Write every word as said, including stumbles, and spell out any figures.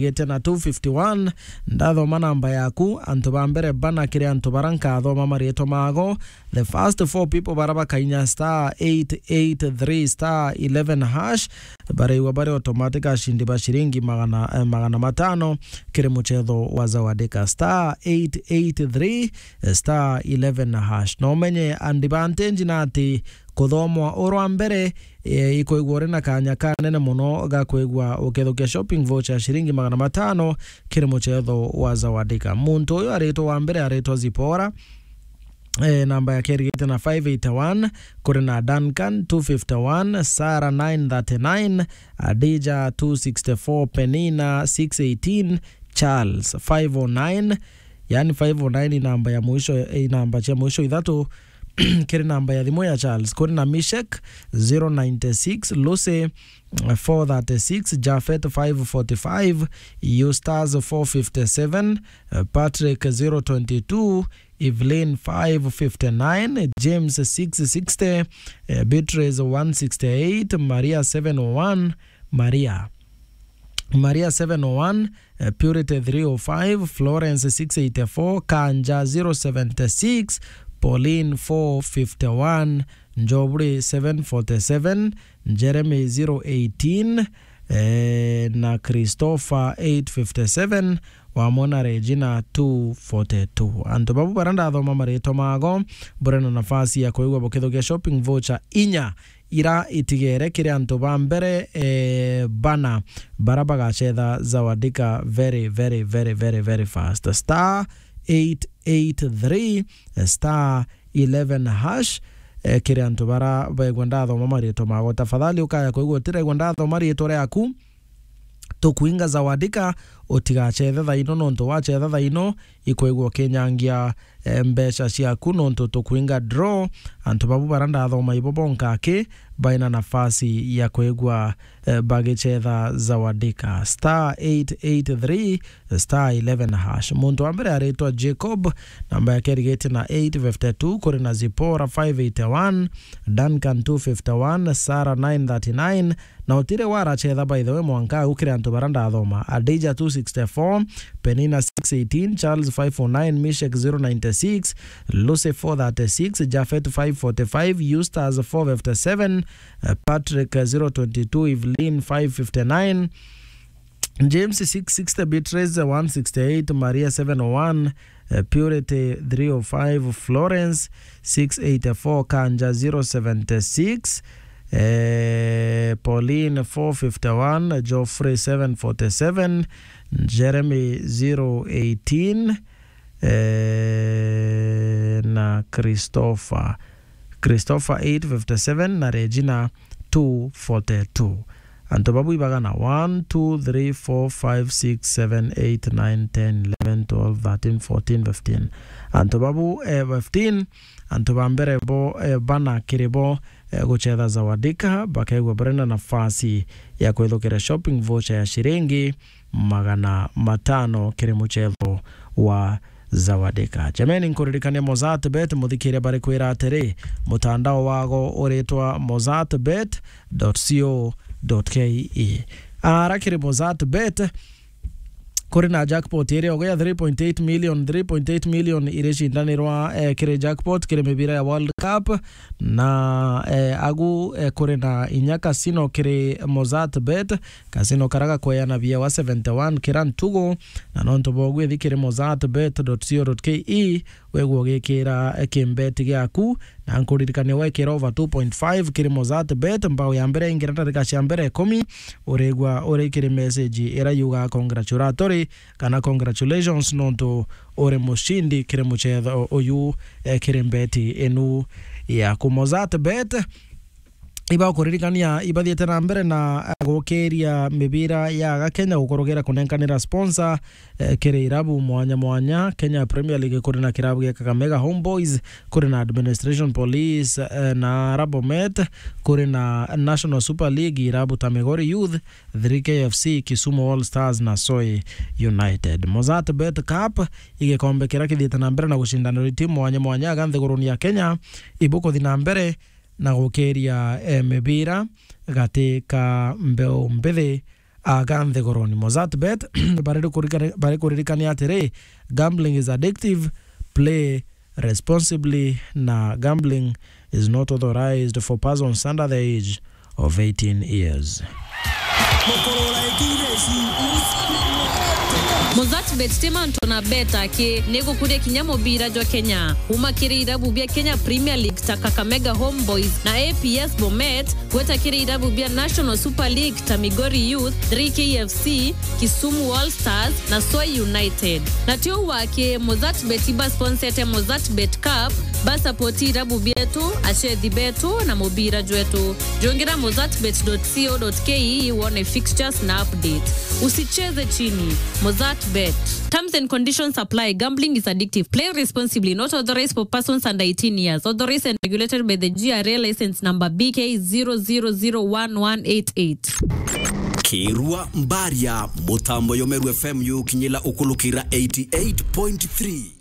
Gete na two fifty-one, ndathoma namba yaku, antu ba mbere bana kiri antu bara nkathoma marietwa mago. The first four people bara bakainya star eight eight three star eleven hash, baraigua bari automatic ashindi ba shiringi magana, eh, magana matano kiri muchetho wa Zawadika. Star eight eight three star eleven hash. No umenye advantage na ati kuthomwa urwa mbere, eh, ikwigua uri na kanya kanene muno ga kwigua ukithukia shopping voucher ya shiringi magana matano kiri muchetho wa Zawadika. Muntu uyu aritwa wa mbere aritwa Zipora, eh, namba yake irigite na five eighty-one, kuri na Duncan two fifty-one, Sarah nine thirty-nine, Adija two sixty-four, Penina six eighteen, Charles five oh nine, yani five oh nine ni namba ya mwisho, eh, namba cia mwisho ithatu kiri namba ya thimu ya Charles. Kuri na Mishek zero ninety-six, Lucy four thirty-six, Jafet five forty-five, Eustace four fifty-seven, eh, Patrick zero twenty-two, Evelyn five fifty-nine, James six sixty, eh, Beatrice one sixty-eight, Maria seven oh one, Maria Maria seven oh one, eh, Purity three oh five, Florence six eighty-four, Kanja zero seventy-six, Pauline four fifty-one, Njobri seven forty-seven, Jeremy zero eighteen, eh, na Christopher eight fifty-seven, wamwe na Regina two forty-two. Antu babu bara ndathoma maritwa mago, buri na nafasi ya kwigua bukithukia shopping voucher inya ira itigere kiri antu ba mbere, eh, bana bara bagachetha Zawadika very, very, very, very, very fast. Star eight eight three star eleven hash, eh, kiri antu bara baigua ndathoma maritwa mago. Tafadhali ukaya kwigua utiraigua ndathoma ritwa riaku, tukwinga Zawadika, utigachethe thaino, nontu wachetha thaino, ikwigua ukinyangia, eh, mbeca ciaku, nontu tukwinga draw. Antu babu bara ndathoma ibo bonka aki, baina nafasi ya kwigua, eh, bagichetha Zawadika. Star eight eight three star eleven hash. Muntu wa mbere aritwa Jacob, namba yake irigite na eight fifty-two, kuri na Zipora five eighty-one, Duncan two fifty-one, Sarah nine thirty-nine, na utire warachetha, by the way, mwanka au kiri antu bara ndathoma. Adija two sixty-four, Penina six eighteen, Charles five oh nine, Mishek zero ninety-six, Lucy four thirty-six, Jafet five forty-five, Eustace four fifty-seven, eh, Patrick, eh, zero twenty-two, Evelyn five fifty-nine, James six sixty, Beatrice one sixty-eight, Maria seven oh one, eh, Purity three oh five, Florence six eighty-four, Kanja zero seventy-six, eh, Pauline four fifty-one, Geoffrey seven forty-seven, Jeremy zero eighteen, eh, na Christopher, Christopher eight fifty-seven na Regina two forty-two. Antu babu ibagana: one, two, three, four, five, six, seven, eight, nine, ten, eleven, twelve, thirteen, fourteen, fifteen. Antu babu, eh, fifteen, antu ba mbere bo, eh, bana kiri bo, eh, guchetha Zawadika, bakaigua bari na nafasi ya kwithukira shopping voucher ya shiringi magana matano kiri muchetho wa Zawadika. Jameni, nkuririkania Mozart Bet, muthikiria bari kwira atiri, mutandao wago uritwa mozart bet dot co dot ke. Ara kiri Mozart Bet, kuri na jackpot iri ogo ya three point eight million, three point eight million iri cindanirwa, eh, kiri jackpot kiri mibira ya World Cup, na, eh, agu, eh, kuri na inya casino kiri Mozart Bet, casino kara gakweana bia wa seventy-one kira ntugu, na nontu bogu ithi kiri mozart bet dot co dot ke, wegua ugikira, eh, kimbeti giaku, na nkuririkania wekira over two point five kiri Mozart Bet, mbao ya mbere ingira ndarika cia mbere ikumi, urigua uri kiri message ira yuga congratulatory kana congratulations nontu uri mushindi kiri muchetho uyu, eh, kiri mbeti inu yaku. Mozart Bet ibakuririkania ibathiite na mbere na gukiria mibira ya aga Kenya gukorogera kunenkanira sponsor, eh, kiri irabu mwanya mwanya. Kenya Premier League kuri na kirabu gia Kakamega Homeboys, kuri na Administration Police, eh, na Rabomet, kuri na National Super League, irabu ta Migori Youth, three K F C, Kisumu All Stars na Soi United. Mozart Bet Cup igikombe kiria kithiite na mbere na gucindanirwa itimu mwanya mwanya aga nthiguruni ya Kenya ibukuthi na mbere na gukiria, eh, mibira gati ka mbeu mbithi. aga nthigoroni. Mozartbet bari kurikani-, bari kuririkania atiri, gambling is addictive, play responsibly, na gambling is not authorized for persons under the age of eighteen years. Mozartbet ti mantu na beta ki, ni gukuria kinya mubira jwa Kenya. Kuma kiri irabu bia Kenya Premier League ta Kakamega Homeboys na A P S Bomet, gweta kiri irabu bia National Super League ta Migori Youth, three K F C, Kisumu All Stars na Soi United. Na ti uu waki, Mozartbet ibasponsete Mozartbet Cup, basapoti irabu bietu, achethi betu na mubira jwetu. Jungira mozartbet dot co dot ke wone fixtures na updates. Usicheze chini. Mozartbet. Terms and conditions apply. Gambling is addictive. Play responsibly. Not authorized for persons under eighteen years. Authorized and regulated by the G R A license number B K zero zero zero one one eight eight. Kirua Mbaria, mutambo yomeru F M yukinyila ukulukira eighty-eight point three.